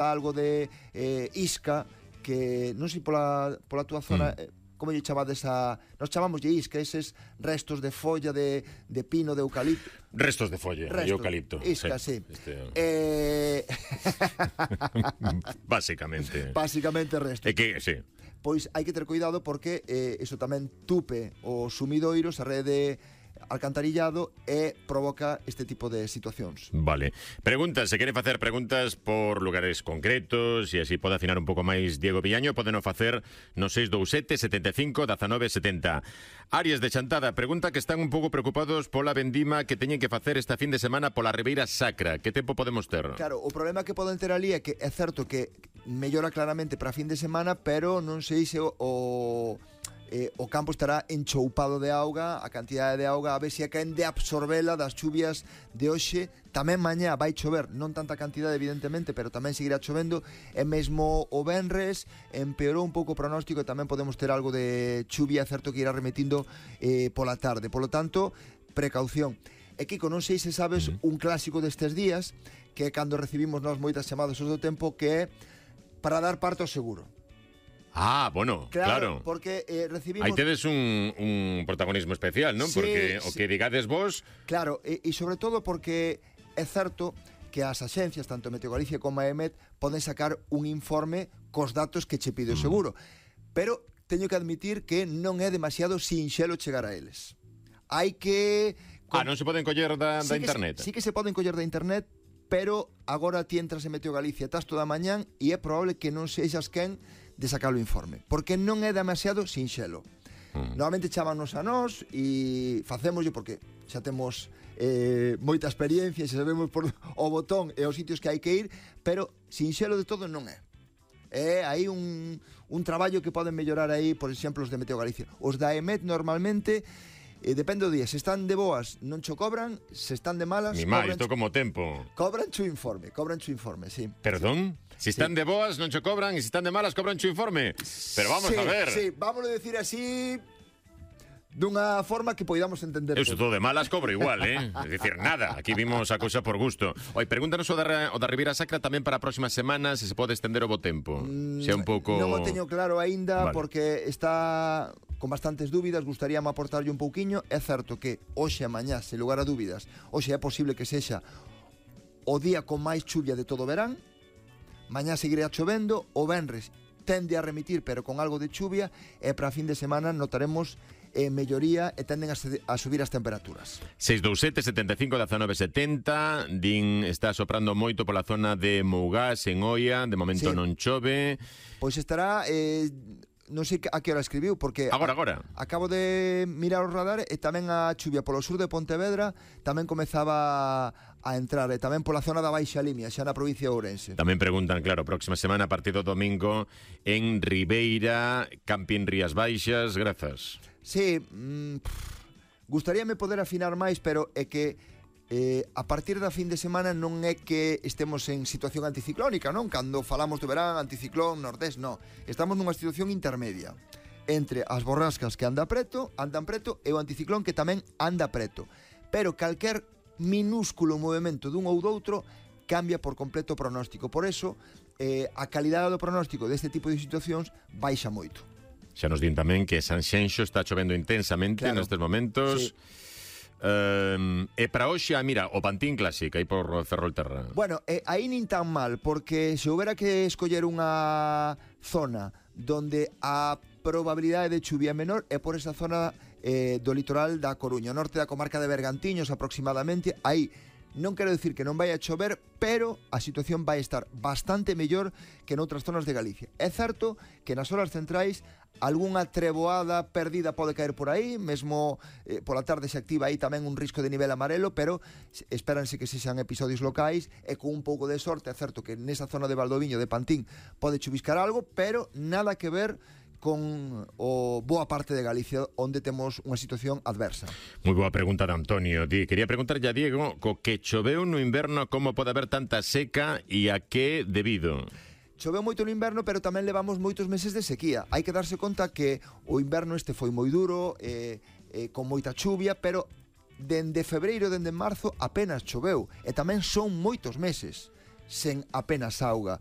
algo de isca, que non sei pola túa zona, como lle chamades nos chamamos de isca, eses restos de folla de pino, de eucalipto. Restos de folla de eucalipto. Isca, sí. Básicamente. Básicamente restos. É que, sí. Pois hai que ter cuidado porque iso tamén tupe os sumidoiros, a rede alcantarillado, e provoca este tipo de situacións. Vale. Preguntas, se queren facer preguntas por lugares concretos e así pode afinar un pouco máis Diego Villaño, podeno facer no 627 75 19 70. Áreas de Chantada pregunta que están un pouco preocupados pola vendima que teñen que facer esta fin de semana pola Ribeira Sacra. Que tempo podemos ter? Claro, o problema que poden ter ali é que é certo que mellora claramente para fin de semana, pero non sei se o campo estará enchoupado de auga, a cantidade de auga, a ver se caen de absorbela das chuvias de hoxe. Tamén mañá vai chover, non tanta cantidade evidentemente, pero tamén seguirá chovendo, e mesmo o venres empeorou un pouco o pronóstico e tamén podemos ter algo de chuvia, certo que irá remetindo pola tarde. Polo tanto, precaución. E Kiko, non sei se sabes un clásico destes días, que é cando recibimos nós moitas chamadas do tempo, que é para dar parte ao seguro. Ah, bueno, claro. Porque recibimos... Aí tedes un protagonismo especial, non? Sí, porque o que digades vos... Claro, e sobre todo porque é certo que as axencias, tanto Meteo Galicia como a EMET, poden sacar un informe cos datos que che pide o seguro. Pero teño que admitir que non é demasiado sinxelo chegar a eles. Hai que... non se poden coller da internet? Sí que se poden coller da internet, pero agora ti entras en Meteo Galicia, estás toda a mañán e é probable que non sexas quen de sacar o informe, porque non é demasiado sinxelo. Normalmente chámanos a nós e facémoslo porque xa temos moita experiencia, xa sabemos por o botón e os sitios que hai que ir, pero sinxelo de todo non é. Hai un traballo que poden mellorar aí, por exemplo, os de Meteo Galicia. Os da EMET normalmente depende do día, se están de boas non cho cobran, se están de malas isto como tempo. Cobran chu informe, sí. Perdón? Si están de boas non cho cobran e se están de malas cobran chu informe. Pero vamos a ver. Sí, vámonos a decir así dunha forma que poidamos entender. Eu todo de malas cobro igual, É dicir, nada, aquí vimos a cousa por gusto. Oi, pregúntanos o da Ribeira Sacra tamén para a próxima semana, se pode estender o bo tempo. Se é un pouco... Non o teño claro aínda, vale, porque está con bastantes dúbidas, gustaríame aportarlle un pouquiño. É certo que hoxe e mañá, sen lugar a dúbidas, hoxe é posible que sexa o día con máis chuvia de todo o verán. Mañá seguirá chovendo, o venres tende a remitir, pero con algo de chuvia, e para a fin de semana notaremos melloría e tenden a subir as temperaturas. 627 75 19 70. Din está soprando moito pola zona de Mougás, en Oia. De momento non chove. Pois estará... non sei a que hora escribiu, porque agora acabo de mirar o radar e tamén a chuvia polo sur de Pontevedra tamén comezaba a entrar, e tamén pola zona da Baixa Limia, xa na provincia de Ourense. Tamén preguntan, claro, próxima semana a partir do domingo en Ribeira, Campín Rías Baixas, grazas. Sí, gustaríame poder afinar máis, pero é que a partir da fin de semana non é que estemos en situación anticiclónica, non? Cando falamos do verán, anticiclón, nordés, non. Estamos nunha situación intermedia entre as borrascas que andan preto e o anticiclón que tamén anda preto. Pero calquer minúsculo movimento dun ou doutro cambia por completo o pronóstico. Por eso, a calidade do pronóstico deste tipo de situacións baixa moito. Xa nos din tamén que Sanxenxo está chovendo intensamente nestes momentos. Sí. E para hoxe, mira, o Pantín Clásico aí por Ferrolterra. Bueno, aí nin tan mal, porque se houbera que escoller unha zona donde a probabilidade de chuvia menor é por esa zona do litoral da Coruña, norte da comarca de Bergantiños aproximadamente. Aí non quero dicir que non vai a chover, pero a situación vai estar bastante mellor que noutras zonas de Galicia. É certo que nas horas centrais algunha treboada perdida pode caer por aí, mesmo pola tarde se activa aí tamén un risco de nivel amarelo, pero espéranse que sexan episodios locais e con un pouco de sorte. É certo que nesa zona de Valdoviño, de Pantín, pode chuviscar algo, pero nada que ver con o boa parte de Galicia, onde temos unha situación adversa. Moi boa pregunta de Antonio. Quería preguntarlle a Diego, co que choveu no inverno, como pode haber tanta seca e a que debido? Choveu moito no inverno, pero tamén levamos moitos meses de sequía. Hai que darse conta que o inverno este foi moi duro, con moita chuvia, pero dende febreiro, dende marzo, apenas choveu. E tamén son moitos meses sen apenas auga.